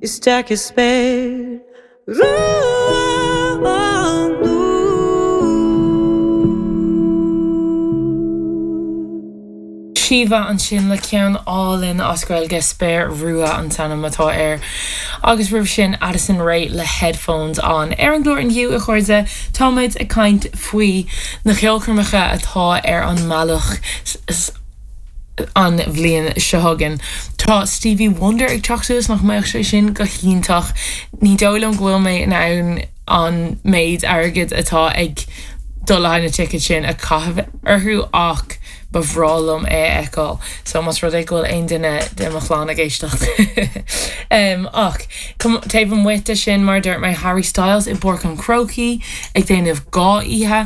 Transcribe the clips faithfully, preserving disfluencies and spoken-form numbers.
Isteach i spéir rua Síomha ansin le ceann álainn as Gaeilge Spéir Rua an t-ainm atá air. Agus roimh sin Addison Rae le Headphones On. Ar an gclár inniu a chairde táimid ag caint faoi na ceolchoirmeacha atá ar an mbealach an bhliain seo chugainn. Tá Stevie Wonder ag teacht suas nach mbeadh sé sin go hiontach. Ní dóigh liom go bhfuil mé in ann an méid airgid atá ag dul le haghaidh na ticéid sin a chaitheamh orthu ach ba bhreá liom é a fheiceáil. So más rud é go bhfuil aon duine de mo chlann ag éisteacht. um, ach taobh amuigh de sin mar dúirt mé Harry Styles i bPáirc an Chrócaigh ag déanamh dhá oíche.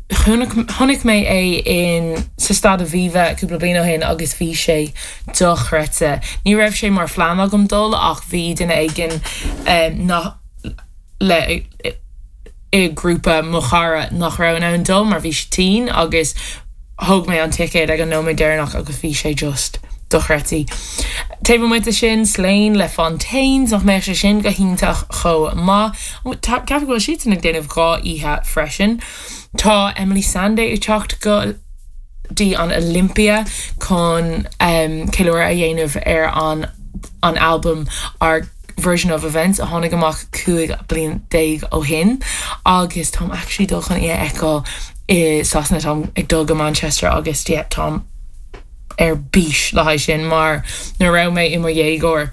Chonaic mé é in sa Staid Aviva cúpla bliain ó shin agus bhí sé dochreidte. Ní raibh sé mar phlean agam dul ach bhí duine éigin um, nach le i grúpa mo chara nach raibh in ann dul mar bhí sé tinn agus thóg mé an ticéad ag an nóiméad deireanach agus bhí sé just dochreidte. Taobh amuigh de sin Slaine le Fontaines nach mbeadh sé sin go hiontach chomh maith. Ceapaim go bhfuil siad ag déanamh dhá oíche freisin. Tá Emeli Sandé ag teacht go dtí an Olympia chun um, ceiliúradh a dhéanamh ar an an album Our Version of Events a tháinig amach cúig bliain déag ó shin agus táim actually dul chun í a fheiceáil i Sasana táim ag dul go Manchester agus yeah, táim ar bís le haghaidh sin mar nuair a raibh mé i mo dhéagóir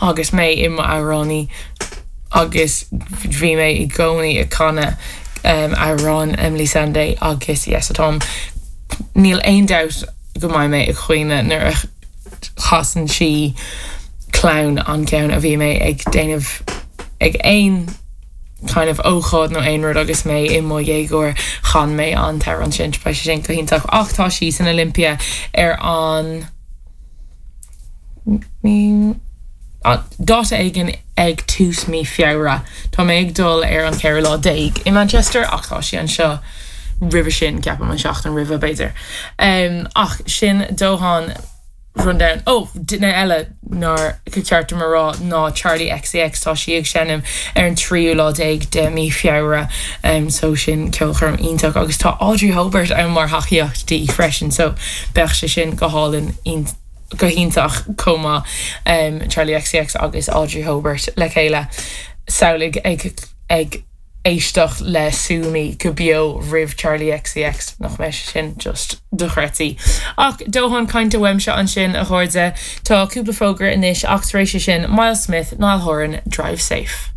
agus mé i mo amhránaí agus bhí mé i gcónaí ag canadh um, amhrán Emeli Sandé agus yes, táim níl aon dabht go mbeidh mé ag caoineadh nuair a chasann sí clown an ceann a bhí mé ag déanamh ag aon kind of ócáid nó aon rud agus mé i mo dhéagóir chan mé an t-amhrán sin beidh sé sin go hiontach ach tá sí san Olympia ar an ní dáta éigin ag tús mí Feabhra Tá mé ag dul ar an ceathrú lá déag i Manchester ach tá sí anseo roimhe sin ceapaim an seachtain roimhe b'fhéidir. Um, ach sin dóthain rundown ó duine eile nár ceart mar rá ná Charli XCX tá sí ag seinm ar an tríú lá déag de mí Feabhra um, so sin ceolchoirm iontach agus tá Audrey Hobart ann mar thacaíocht di freisin so beidh sé sin go hálainn go hiontach chomh maith um, Charli XCX agus Audrey Hobart le chéile samhlaigh ag ag éisteacht le Sue Me go beo roimh Charli XCX nach mbeidh sin just dochreidte. Ach dóthain cainte uaimse ansin a chairde tá cúpla fógra anois ach tar éis sin Myles Smith Niall Horan Drive Safe.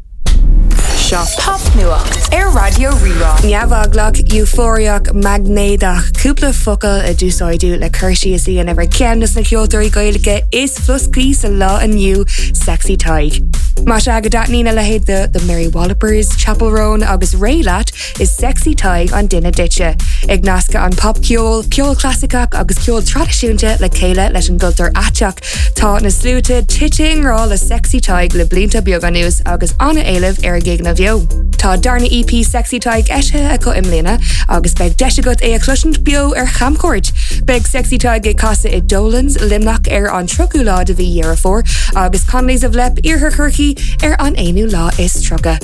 Seo Popnuacht ar Raidió Rí-Rá. Neamheaglach eufóriach maighnéadach cúpla focal a d'úsáideadh le cur síos a dhéanamh ar cheann de na ceoltóirí Gaeilge is floscaí sa lá inniu Sexy Tadhg. Má sea go dtaitníonn a leithéid de The Mary Wallopers, Chappell Roan agus Raye leat is Sexy Tadhg an duine duitse. Ag nascadh an popcheol, ceol clasaiceach agus ceol traidisiúnta le chéile leis an gcultúr aiteach. Tá na sluaite tite i ngrá le Sexy Tadhg le blianta beaga anuas agus an-éileamh ar a gigeanna beo. Tá darna EP Sexy Tadhg eisithe acu i mbliana agus beidh deis agat é a chloisint beo ar chamchuairt. Beidh Sexy Tadhg ag casadh i Dolan's Luimneach ar an tríochú lá de mhí Dheireadh Fómhair agus Connolly's of Leap Iarthar Chorcaí ar an aonú lá is tríocha.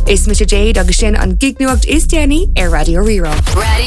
Is mise Jade agus sin an gignuacht is déanaí ar Raidió Rí-Rá. Radio